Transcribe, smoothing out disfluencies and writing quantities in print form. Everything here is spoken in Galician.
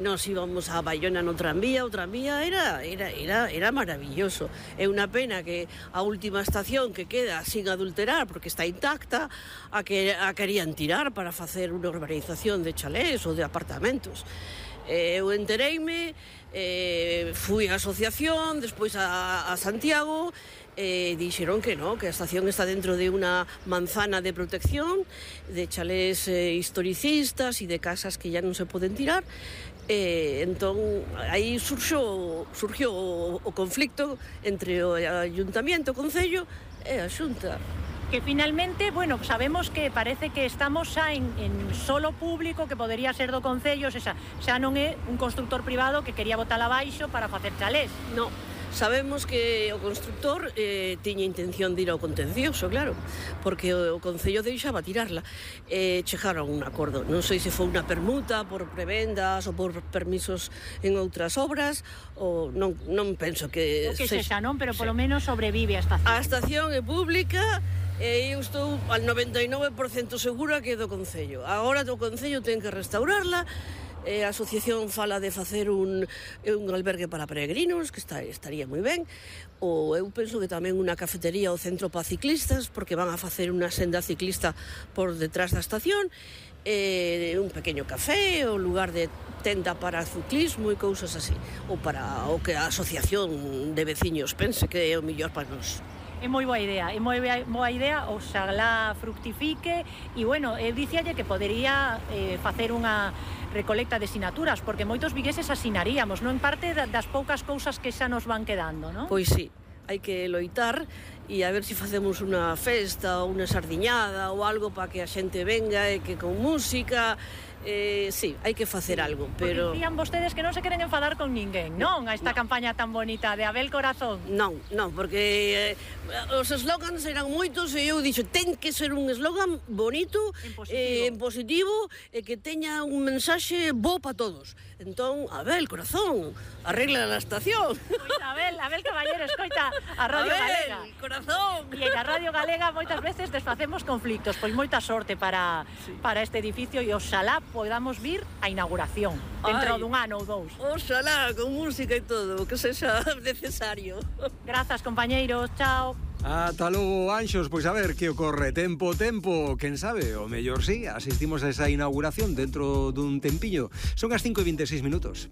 Nos íbamos a Baiona no tranvía, o tranvía era maravilloso. É unha pena que a última estación que queda sin adulterar, porque está intacta, a querían tirar para facer unha urbanización de chalés ou de apartamentos. Eu entereime, fui á asociación, despois a Santiago, dixeron que non, que a estación está dentro de unha manzana de protección, de chalés historicistas e de casas que ya non se poden tirar. Entón, aí surgiu o conflicto entre o Ayuntamiento, o Concello e a Xunta. Que finalmente, bueno, sabemos que parece que estamos xa en solo público que podería ser do Concello, xa non é un constructor privado que quería botar abaixo para facer chalés. Non. Sabemos que o constructor tiña intención de ir ao contencioso, claro, porque o Concello deixaba tirarla. Chegaron a un acordo. Non sei se foi unha permuta por prebendas ou por permisos en outras obras, ou non penso que... O que sexa, non? Pero polo menos sobrevive a estación. A estación é pública e eu estou al 99% segura que é do Concello. Agora o Concello ten que restaurarla. A asociación fala de facer un albergue para peregrinos, que estaría moi ben, ou eu penso que tamén unha cafetería ou centro para ciclistas, porque van a facer unha senda ciclista por detrás da estación, un pequeno café, ou lugar de tenda para ciclismo e cousas así, ou para o que a asociación de veciños pense que é o mellor para nós. É moi boa idea, oxalá fructifique e, bueno, dicíalle que podería facer unha recolecta de sinaturas, porque moitos vigueses asinaríamos, non? En parte das poucas cousas que xa nos van quedando, non? Pois sí, hai que loitar e a ver se facemos unha festa ou unha sardiñada ou algo para que a xente venga e que con música... sí, hai que facer algo, pero... Porque dicían vostedes que non se queren enfadar con ninguén, non? A esta campaña tan bonita de Abel Corazón. Non, porque os eslogans eran moitos e eu dixo, ten que ser un eslogan bonito, en positivo, e que teña un mensaxe bo para todos. Entón, Abel Corazón, arregla a estación. Pois Abel Caballero, escoita a Radio Galega. Abel Corazón. E a Radio Galega moitas veces desfacemos conflictos, pois moita sorte para este edificio e oxalá podamos vir a inauguración dentro dun ano ou dous. Oxalá, con música e todo, que sexa necesario. Grazas, compañeiros, chao. Ata logo, Anxos, pois a ver que ocorre. Tempo, quen sabe, o mellor sí, asistimos a esa inauguración dentro dun tempiño. Son as 5:26 minutos.